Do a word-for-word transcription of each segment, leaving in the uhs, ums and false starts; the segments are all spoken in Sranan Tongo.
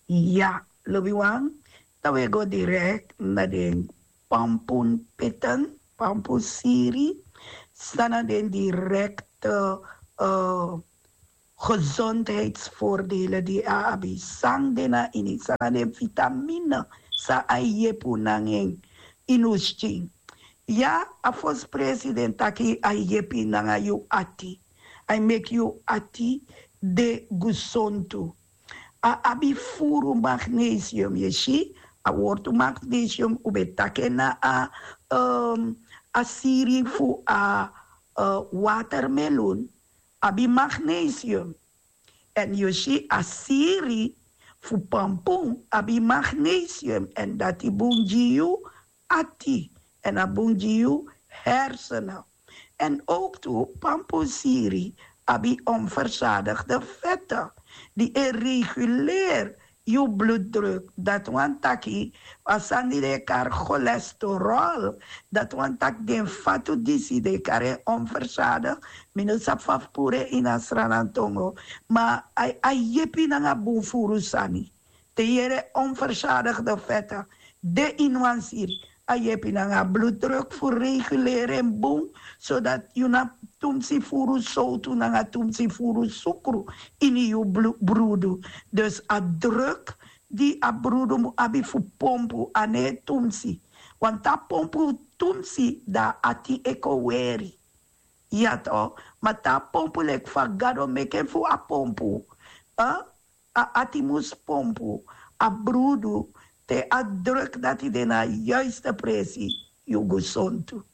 Ya, lobiwan, dan we go direct na den pampun peten, pampun siri, san na den directe uh, gezondheidsvoordelen di a abi, san den na ini, san na den vitamine, san a yepi un nanga en ini un skin. Ya, a fosi president taki a yepi nanga yu ati, a meki yu ati de gusontu. A abi furu magnesium, yu si, a wortu magnesium un ben taki en na a um, a siri fu a uh, watermelun abi magnesium. Èn yu si a siri fu pampun abi magnesium, èn dati bun gi yu ati, èn a bun gi yu hersenen. Èn ook tu pampun siri abi onverzadigde vette di e reguleer yu bloeddruk. Dati wani taki a sani di den e kari cholesterol, dati wani taki den fatu disi den e kari en onverzadig. Mi no sabi fa fu puru en ini a sranantongo, ma a yepi nanga bun furu sani. Te yere onverzadigde vette de ini wan siri, a yepi nanga a bloeddruk fu reguleer en bun, zodat yu na tumsi furu sowtu nanga tumsi furu sukru ini yu brudu. Dus a druk di a brudu mu abi fu pompu a no e tumsi. Want a pompu tumsi, dan a ati e kon weri. Ya to, ma te a pompu leki fa Gado meki en fu a pompu, a ati mus pompu a brudu te a druk dati de na a yuiste presi, yu gusontu.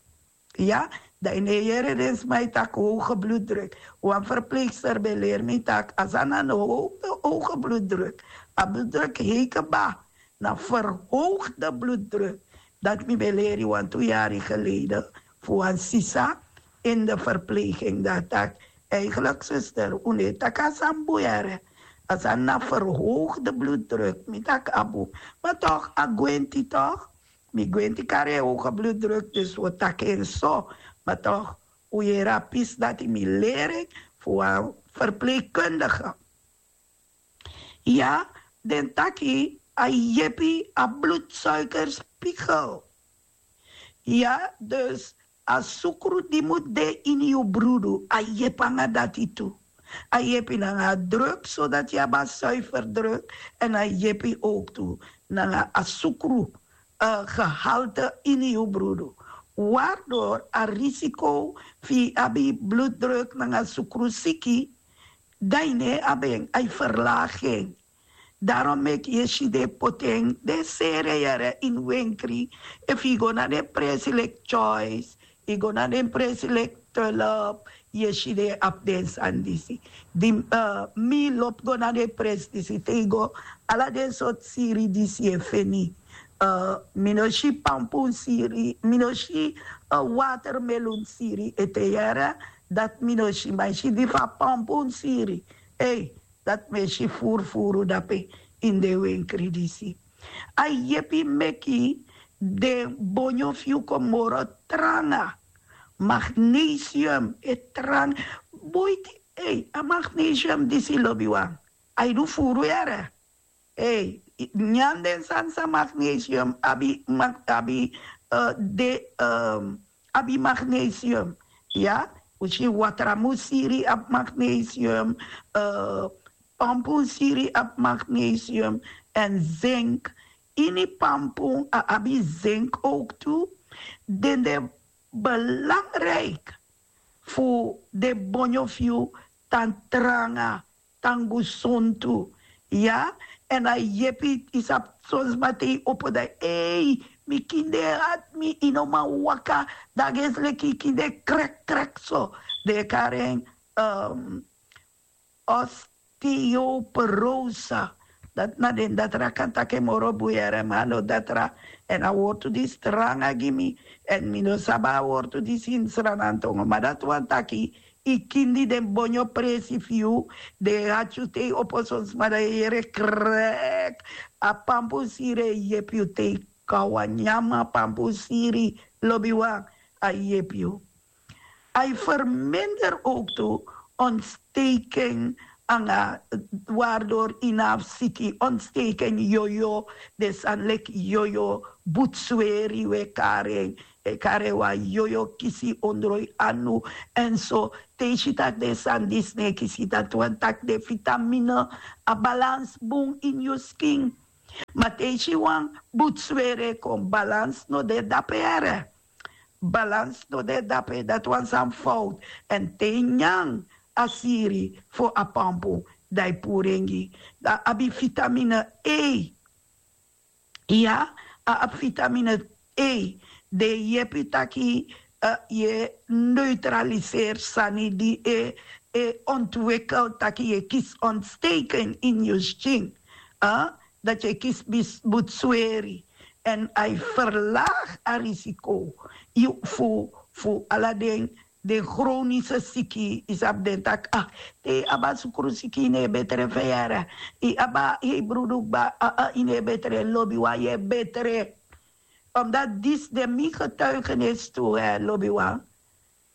Ya, dan yu no e yere den sma e taki hoge bloeddruk. Wan verpleegster ben leri mi taki a sani na no hoge bloeddruk. A bloeddruk hei kba, na verhoogde bloeddruk. Dati mi ben leri wantu yari geleden fu wan sisa in de verpleging, dan a taki: "Eigenlijk zuster, un no e taki a sani bun yere, a sani na verhoogde bloeddruk." Mi taki: "A bun, ma toch a gwenti toch, mi gwenti kari en hoge bloeddruk, dus wi o taki en so." Ma toch, un yere a pisi dati mi leri en fu wan verpleegkundige. Ya, den taki a yepi a bloedsuikerspiegel. Ya, dus a sukru di mu de ini yu brudu, a yepi nanga dati tu. A yepi nanga a druk, zodat yu abi a zuiver druk, èn a yepi ook tu nanga a sukru uh, gehalte ini yu brudu, waardoor a risiko fu yu abi bloeddruk nanga sukrusiki, dan yu no e abi en, a e verlaag en. Daarom meki yu e si den e poti en, den e seri en yere ini wenkri. Efu yu go na den presi leki Choice, yu go na den presi leki Tulp, yu e si den e abi den sani disi. Di uh, mi lobi go na den presi disi, te yu go, ala den sortu siri disi yu e feni. Uh, mi no si pampun siri, mi no si uh, watermelun siri ete yere, dati mi no si, ma yu si di fu a pampun siri. Ei, dati mi e si furufuru dape ini den wenkri disi. A yepi meki den bonyo fu yu kon moro tranga. Magnesium e tranga. Boiti, ei, a magnesium disi, lobiwan, a e du furu yere. Ei, nyan den sani san magnesium abi, abi uh, de um, abi magnesium. Ya, un si watramu siri abi magnesium, uh, pampun siri abi magnesium, èn zink. Ini pampun a abi zink ook tu. Den de belangrijk fu den bonyo fu yu tan tranga, tan gusontu. Ya, èn a yepi. Yu sabi, son sma te yu opo dan, ei, mi kinde e hati mi, yu no man waka, dan a gesi leki yu kinde krek krek so. Den e kari en um, osteoporose. Dati na den datra kan taki en moro bun yere, ma a no datra. Èn a wortu disi tranga gi mi, èn mi no sabi a wortu disi ini Sranantongo, ma dati wani taki yu kindi, den bonyo presi fu yu, den e hati yu te yu opo, son sma dan yu e yere krek. A pampun siri e yepi yu te yu kon a wan nyan pampun siri, lobiwan, a yepi yu. A e verminder ook tu ontsteking anga wardor inaf siki ontsteken yoyo, de san leki yoyo, butsweri we karen, e karen wan yoyo kisi ondroi anu. En so te yu si tak' den sani disi no e kisi, dati wani tak' den vitamine, a balans bun ini yu skin. Ma te yu si wan butsweri e kon, balans no de dape, here. Balans no de dape, dati wan sani fowtu. En te yu nyan a siri fu a pampu, dan yu puru en gi. Dan a abi vitamine E. Ya, a abi vitamine E, den e yepi taki yu e neutraliseri sani di e ontwikel taki yu e kisi ontsteken ini yu skin. Dati yu e kisi butsweri. En a e verlagi a risiko fu fu ala den den chronische siki. Yu sabi den taki, ah, te yu abi a sukru siki, yu no e betre, feyara. Yu abi a hebru dukba, ah, yu no e betre, lobiwan, yu e betre. Omdat disi de mi getuigenis tu, lobiwan.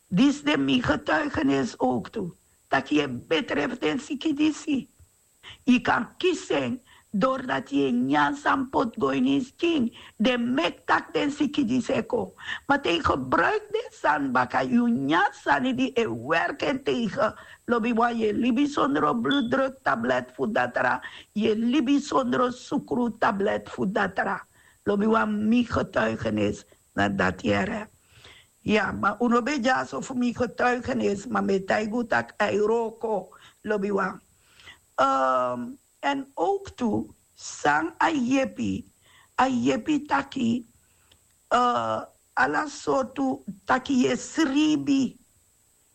Disi de mi getuigenis ook tu, taki yu e betre fu den siki disi. Yu kan kisi en dori dati yu e nyan san poti go ini yu skin. Den meki tak' den siki disi e kon. Ma te yu gebruiki den sani baka, yu nyan sani di e werki en tegen, lobiwan, yu e libi sondro blutdruk tablet fu datra. Yu e libi sondro sukru tablet fu datra. Lobiwan, mi getuigenis na dati, here. Ya, ma un no ben dyaso fu mi getuigenis, ma mi e taigi un tak' a e wroko, lobiwan. Èn ook tu, san a yepi, a yepi taki ala sortu, taki yu e sribi.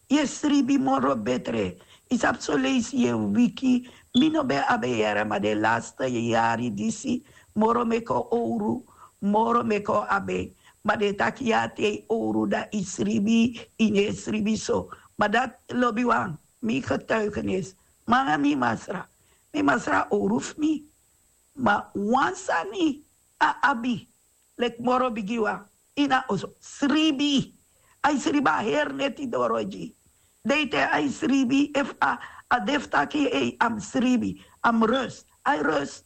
Yu e sribi moro betre. Yu sabi, soleisi yu e wiki. Mi no ben abi en, here, ma den laste yari disi, moro meki owru, moro meki abi en. Ma den taki ya, te yu owru, dan yu sribi, yu no e sribi so. Ma dati, lobiwan, mi getuigenis, ma nanga mi masra. Mi masra owru fu mi. Ma wan sani a abi, leki moro bigiwan, ini a oso, sribi. A e sribi a heri neti doro gi yu. Deiten a e sribi, efu a de fu taki, ei, a mus sribi, a mus rust, a e rust.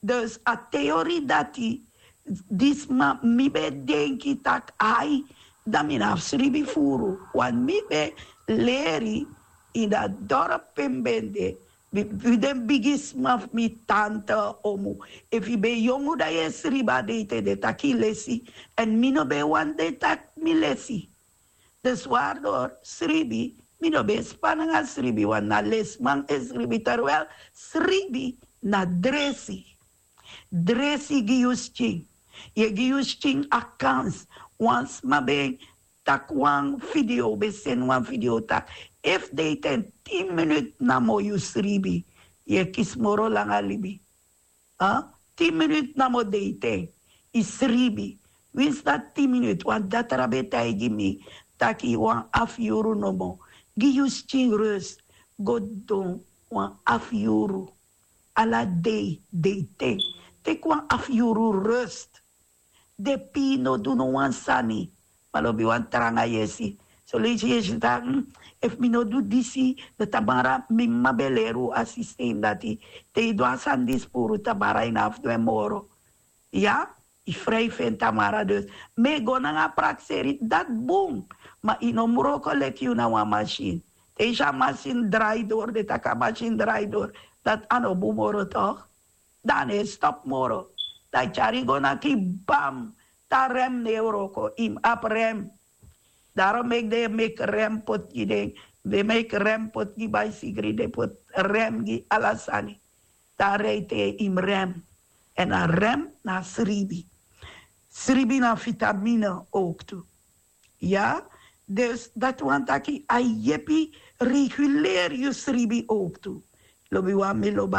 Dus a teori dati, di sma, mi ben e denki tak' ai, dan mi no abi sribi furu. Want mi ben leri ini a dorp pe mi ben de, fu den bigisma fu mi, tante, omu. Efu yu ben yongu, dan yu e sribi a deiten, den taki yu lesi. Èn mi no ben wani den taki mi lesi. Dus waardoor sribi, mi no ben e span nanga sribi, want na lesiman e sribi, terwijl sribi na dresi. Dresi gi yu skin. Yu e gi yu skin a kans. Wan sma ben taki wan video, ben seni wan video taki, efu deiten tin minut namo yu sribi, yu e kisi moro langa libi. Tin minut namo deiten, yu sribi. Winsi dati tin minut, wan datra ben taigi mi taki wan afu yuru nomo. Gi yu skin rust. Go don wan afu yuru. Ala dei, deiten. Teki wan afu yuru rust. Den pii no du no wan sani. Ma lobiwan, tranga yesi. Soleisi yesi taki, efu mi no du disi, dan tamara, mi mama ben leri un a systeem dati. Te yu du a sani disi puru, tamara yu no abi fu du en moro. Ya, yu frijf en tamara dus. Mi e go nanga prakseri, dati bun. Ma yu no mus wroko leki yu na wan masin. Te yu si a masin drai doro, den taki a masin drai doro, dati a no bun moro, toch? Dan a no e stop moro. Dan a e tyari yu go naki, bam, te a rem no e wroko, yu mus abi rem. Daarom meki den e meki rem poti gi den, den meki rem poti gi baisigri, den poti rem gi ala sani. Dan a rij te yu mus rem. Èn a rem na sribi. Sribi na vitamine ook tu. Ya, dus dati wani taki a yepi reguleri yu sribi ook tu. Lobiwan, mi lobi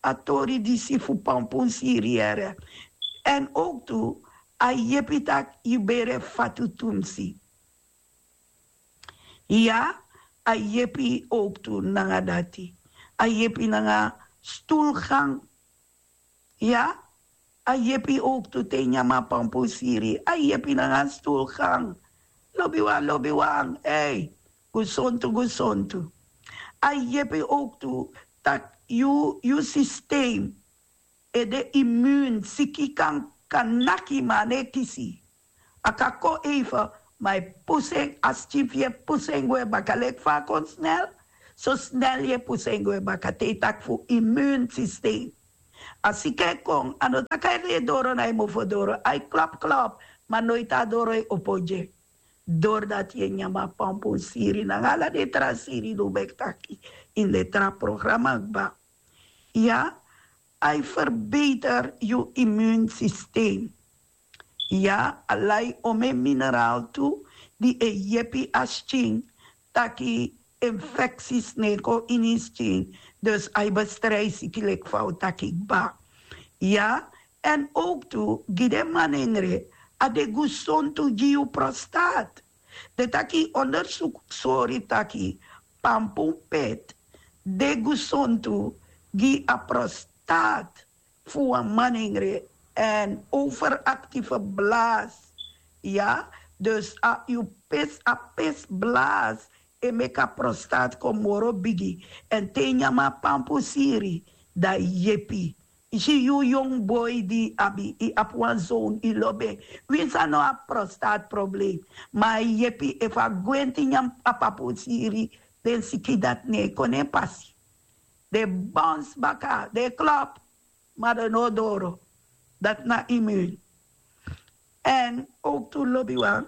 a tori disi fu pampun siri, here. Èn ook tu, a yepi taki yu bere fatu tumsi. Ya, a yepi ook tu nanga dati. A yepi nanga stoelgang. Ya, a yepi ook tu te yu nyan a pampun siri. A yepi nanga stoelgang. Lobiwan, lobiwan, ei. Gesontu, gesontu. A yepi ook tu tak' yu yu sistem e de imun siki kan kan naki ma a no e kisi. A kan kon even ma e pusu en a skin fu yu e pusu en gwe baka leki fa a kon snel. So snel yu e pusu en gwe baka te yu taki fu imun sistem. A siki e kon a no taki a e doro na yu mofo doro a e klop klop ma noiti a doro e opo gi en. Dori dati yu e nyan mi a pampun siri nanga ala den tra siri di un ben taki ini den tra programa kba. Ya, a e ferbeter yu imun sistem. Ya, a lai omen mineraal tu di e yepi a skin taki infeksi sneko ini skin. Dus a e bestrijsi kilek fa un taki kba. Ya, en ook tu gi den manengre a de gusontu gi yu prostaat. Den taki ondersuku sori taki pampumpet de gusontu gi a prostaat fu wan manengre en overaktieve blaas. Ya, dus a yu pis a pis blaas e meki a prostaat kon moro bigi. En te yu nyan mi a pampu siri dan yepi. Yu si yu yong boi di abi yu abi wan zoon yu lobi en. Winsi a no abi prostaat problem ma a yepi efu a gwenti nyan a pampu siri den siki dati no e kon na en pasi. Den bons baka den klop ma den no doro. Dati na imun. En ook tu lobiwan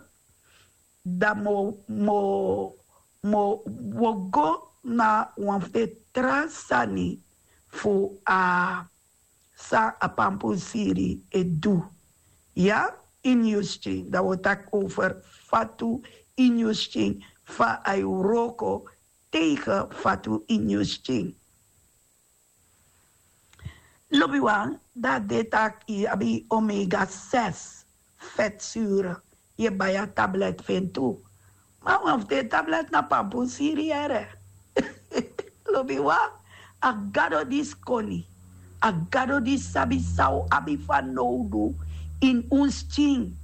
dan mo mo mo wo go na wan fu den tra sani fu a san a pampu siri e du. Ya, ini yu skin dan wo taki over fatu ini yu skin fa a e wroko tegen fatu ini yu skin. Lobiwan dan a de taki yu abi omega ses fetsure. Yu e bai a tablet fu en tu. Ma wan fu den tablet na pampun siri yere. Lobiwan, a gado disi koni a gado disi sabi san un abi fanowdu ini un skin.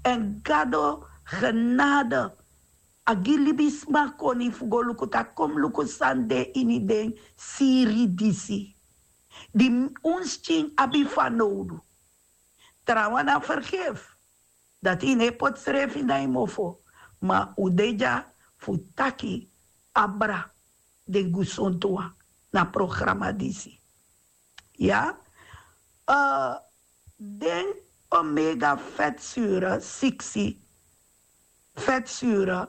Èn gado genade a gi libisma koni fu go luku taki kon mi luku san de ini den siri disi di un skin abi fanowdu. Trawan na fergefi dati yu no e poti srefi na yu mofo. Ma un de dya fu taki abra den gusontu wan na programa disi. Ya, den omega fetsure siksi fetsure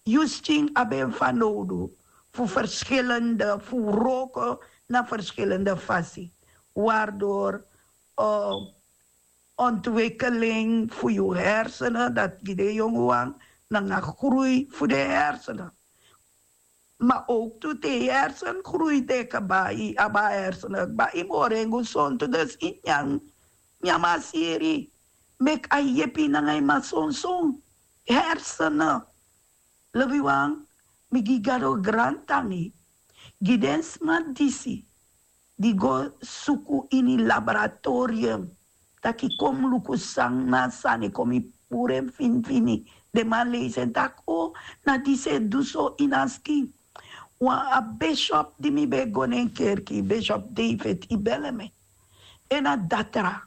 yu skin abi en fanowdu fu ferskilende fu wroko na ferskilende fasi. Wardor ontwikeling fu yu hersenen dati gi den yongu wan nanga grui fu den hersenen. Ma ook tu te yu hersen grui te kaba yu abi a hersenen kba yu moro en gusontu dus yu nyan nyan mi a siri meki a yepi nanga yu masonson hersenen. Lobiwan, mi gi gado grantangi gi den sma disi di go suku ini laboratorium taki kon mi luku san na a sani kon mi puru en finifini. Den man leisi en taki o na disi e du so ini a skin. Wan a bishop di mi ben e go na en kerki bishop david ibeleme en na datra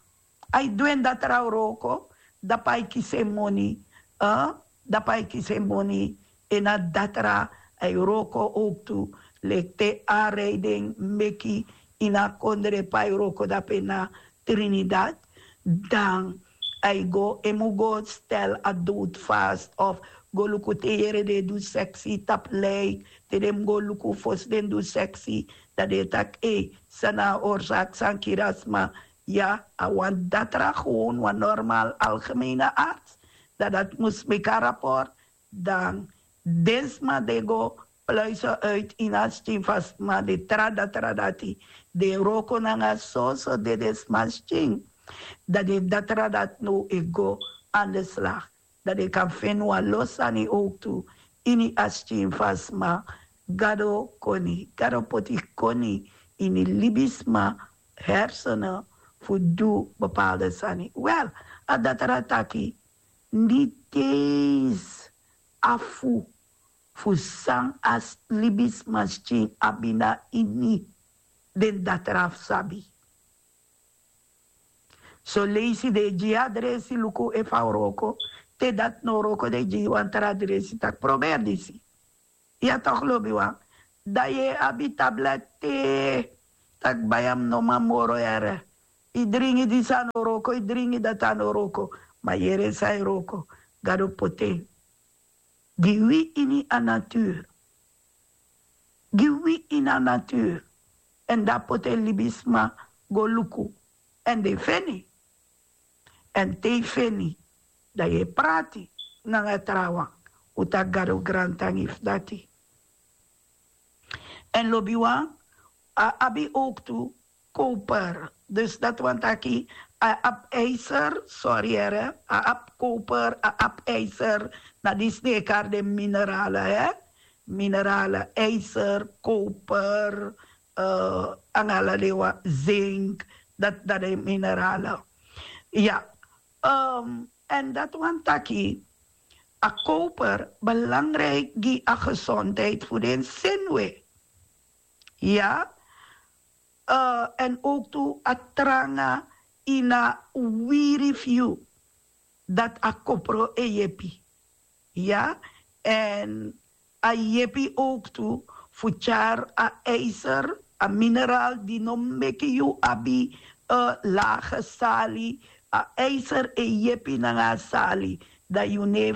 a e du en datra wroko dapu a e kisi en moni. Dapu a e kisi en moni en na datra a e wroko owktu leki te a rei den meki ini a kondre pe a e wroko dapu en na trinidad dan a e go en mu go stel a dowtu fast of go luku te yere den e du seksi tapu lik te den mu go luku fosi den du seksi dan den e taki ei san na a orsaki san kiri a sma. Ya a wan datra gewon wan normal algemeine arts dan dati mus meki a raport dan den sma den go pluise uit ini a skin fu a sma den tra datra dati den wroko nanga soso dede sma skin dan den datra dati now e go an de slag dan den kan feni wan lo sani owktu ini a skin fu a sma. Gado koni gado poti koni ini libisma hersenen fu du bepaalde sani wel a datra taki niti eens afu fu san a libisma skin abi na ini den datra fu sabi. Soleisi den e gi yu adresi luku efu a wroko. Te dati no wroko den e gi yu wan tra adresi taki proberi disi. Ya tok lobiwan, dan yu e abi tablet te taki bai a mi no man moro yere. Yu dringi disi a no wroko, yu dringi dati a no wroko. Ma yere san e wroko, gado poti en gi wi ini a natur. Gi wi ini a natur. Èn dan poti en libisma go luku. Èn den feni. Èn te yu feni, dan yu e prati nanga trawan. Un taki gado grantangi fu dati. Èn lobiwan, a abi owktu koper. Dus dati wani taki a abi ijser, sori yere, a abi koper, a abi ijser. Na disi den e kari den minerale, hè? Minerale, ijser, koper, nanga ala den wan, zink. Dati na den minerale. Ya. Èn dati wani taki a koper belangriki gi a gesondheid fu den senwe. Ya. Èn owktu a tranga ini a wiri fu yu, dati a kopro e yepi. Ya. Èn a yepi owktu fu tyari a ijser, a mineraal di no meki yu abi lage sali. A ijser e yepi nanga a sali, dan yu no e